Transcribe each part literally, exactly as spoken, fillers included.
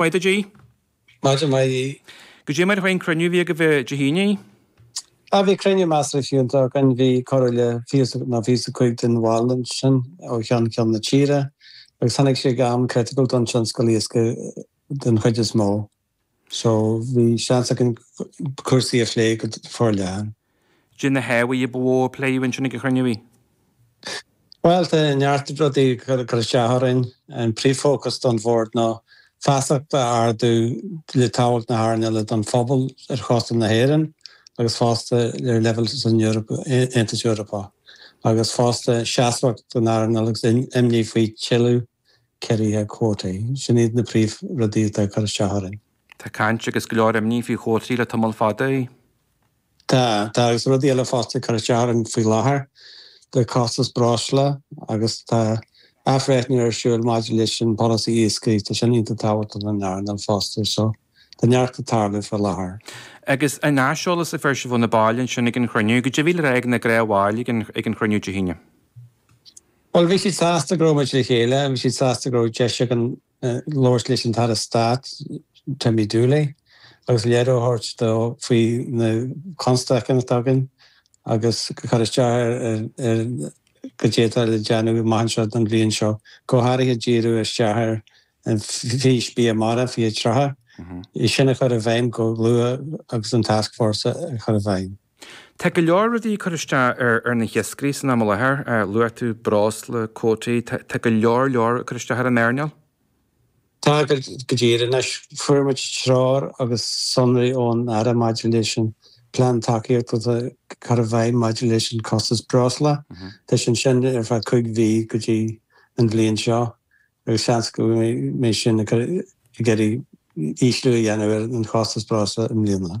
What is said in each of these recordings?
Maith duit, Aodh. Maidin mhaith, Aodh. Goidé mar a chuaigh an cruinniú a bhí agaibh Dé hAoine? Ah, bhí cruinniú measartha fiúntach againn. Bhí corradh le fiche nó fiche is a cúig den bhaill ansin ó cheann ceann na tíre agus tháinig sé ag am criticiúil don tionscal iascaigh den chuid is mó. So bhí seans againn cúrsaí a phlé go forleathan. Goidé na hábhair ba mhó a pléadh ansin ag an chruinniú, Aodh? Bhuel, tá neart rudaí ag cur isteach orainn. An príomhfhócas don bhord ná feasacht a ardú le tábhacht na hearnála don phobal ar chósta na hÉireann agus fosta ar leibhéal san Eoraip, Aontas Eorpach, agus fosta seasmhacht don earnáil agus imní faoi tuilleadh ciorruithe cuótaí. Sin iad na príomhrudaí atá ag cur isteach orainn. Tá caint agus go leor imní faoi chuótaí le tamall fada. Tá, tá agus rudaí eile fosta ag cur isteach orainn faoi láthair, tá costas breosla agus tá athbhreithniú ar siúl maidir leis an polasaí iascaigh, tá sin iontach tábhachtach don earnáil fosta, so tá neart ag tarlú faoi láthair. Agus an aiseolas a fuair sibh ó na baill ansin ag an chruinniú, goidé a bhí le rá ag na gnáthbhaill ag an ag an chruinniú Dé hAoine? Bhuel, bhí siad sásta go raibh muid le chéile, bhí siad sásta go raibh deis againn labhairt leis an tAire Stáit, Timmy Dooley, agus léiriú a thabhairt dó faoi na constaicí atá againn agus cur isteach ar ar goidé atá le déanamh amach anseo don bhliain seo, go háirithe díriú isteach ar an Fís Bia Mara fiche tríocha, é sin a chur i bhfeidhm go luath agus an Tascfhórsa a chur i bhfeidhm. Tá go leor rudaí ag cur isteach ar ar na hiascairí san am i láthair. Luaigh tú breosla, cuótaí, tá go leor leor ag cur isteach ar an earnáil. Tá, go díreach. Anois, fuair muid treoir agus sonraí ón Aire maidir leis an plean tacaíochta atá cur i bhfeidhm maidir leis an costas breosla. Tá sin sin ar feadh cúig mhí go dtí an bhliain seo agus seans go mbeidh sin ag iarraidh ísliú a dhéanamh ar an chostas breosla i mbliana.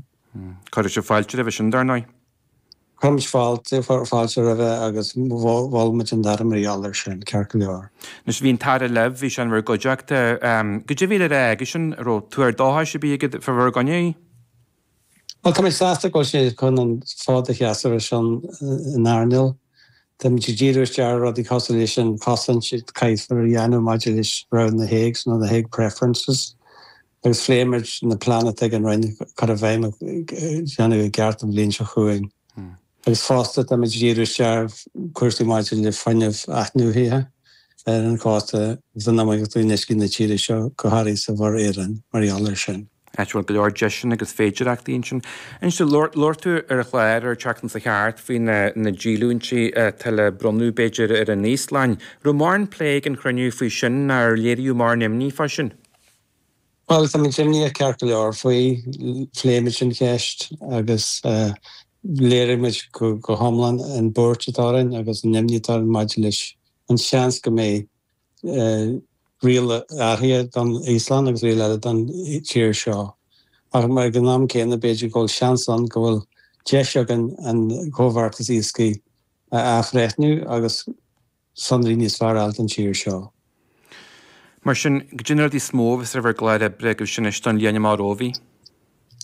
Cuirfidh sibh fáilte roimhe sin, dar ndóigh. Cuirimid fáilte, fáilte roimhe agus mhol muid an tAire mar gheall air sin, ceart go leor. Anois, bhí an tAire libh, bhí sé in bhur gcuideachta. Goidé a bhí le rá aigesean, an raibh tuar dóchais ar bith aige fá bhur gcoinne? Bhuel, tá mé sásta go bhfuil sé chun an fód a sheasamh ar son an earnáil. Táimid ag díriú isteach ar rudaí cosúil leis an chosaint a caithfear a dhéanamh maidir leis rogha na HAGs nó na Hague Preferences agus phléigh muid na pleananna atá ag an Roinn cur i bhfeidhm a dhéanamh i gceart an bhliain seo chugainn. Agus fosta táimid ag díriú isteach ar chúrsaí maidir le fuinneamh athnuaithe ar an chósta agus in iomaíocht in uiscí na tíre seo, go háirithe sa Mhuir Éireann, mar gheall air sin. Áit a bhfuil go leor deiseanna agus féidireachtaí ansin. Anois, labhair tú ar an chlár ar an tseachtain seo thart faoi na díolúintí atá le bronnadh, b'fhéidir, ar an Íoslainn. Raibh mórán plé ag an chruinniú faoi sin nó ar léiríodh mórán imní fá sin? Bhuel, táimid imníoch ceart go leor faoi. Phléigh muid an cheist agus léirigh muid go hiomlán an bhuairt atá orainn agus an imní atá orainn maidir leis an seans go mbeidh riail áirithe don Íoslainn agus riail eile don tír seo. Ach ag an am céanna, b'fhéidir go bhfuil seans ann go bhfuil deis againn an comhbheartas iascaigh a athbhreithniú agus sonraí níos fearr a fháil don tír seo. Mar sin, goidé na rudaí is mó a bheas ar bhur gclár oibre agaibh sin anois don bhliain amach romhaibh?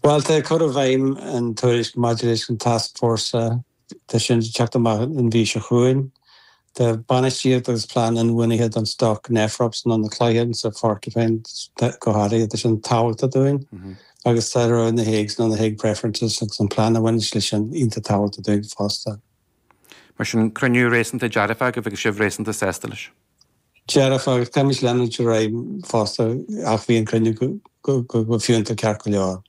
Bhuel, tá cur i bhfeidhm an tuairisc maidir leis an tascfhórsa, tá sin ag teacht amach an mhí seo chugainn. Tá bainistíocht agus plean inbhuanaithe don stoc Nephrops nó na cloiche sa Phorcupine go háirithe, tá sin tábhachtach dúinn agus tá rogha na Hagues nó na Hague Preferences agus an plean a bhaineann leis sin iontach tábhachtach dúinn fosta. Mar sin, cruinniú réasúnta dearfach agaibh agus sibh réasúnta sásta leis. Dearfach agus táimid leanúint ar aghaidh fosta ach bhí an cruinniú go fiúntach ceart go leor.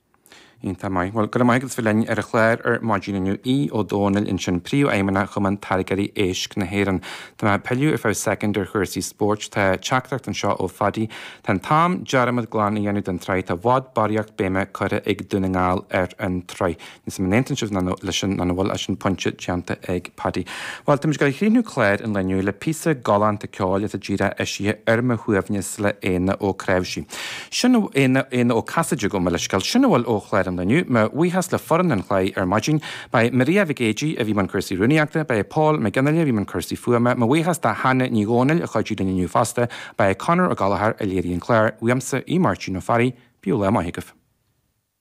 Iontach maith. Bhuel, go raibh maith agat as bheith linn ar an chlár ar maidin inniu. Aodh Ó Domhnaill ansin, Príomhfheidhmeannach Chumann Táirgeoirí Éisc na hÉireann. Tá mé ag pilleadh ar feadh soicind ar chúrsaí spóirt. Tá teachtaireacht anseo ó Phaddy. Tá an t-am dearmad glan a dhéanamh den tsraith. Tá i bhfad barraíocht béime curtha ag Dún na nGall ar an tsraith. Níl 's agam an aontaíonn sibh leis sin nó nach bhfuil ach sin pointe déanta ag Paddy. Bhuel, táimid ag dul a chríochnú clár an lae inniu le píosa galánta ceoil atá díreach eisithe ar mo shuaimhneas le Éanna Ó Cnáimhsí. Sin Éanna, Éanna Ó Casaide, gabh mo leithscéal. Sin a bhfuil ó chlár an lae inniu. Mo bhuíochas le foireann an chláir ar maidin. Ba é Maria Mhic Éadaigh a bhí i mbun cúrsaí rúnaíochta, ba é Paul Mac Fhionnghaile a bhí i mbun cúrsaí fuaime. Mo bhuíochas do Hannah Ní Dhomhnaill a chuidigh linn inniu fosta. Ba é Conor Ó Gallchóir a léirigh an clár. Uaimse, Aodh Máirtín Ó Fearraigh, bíodh lá maith agaibh.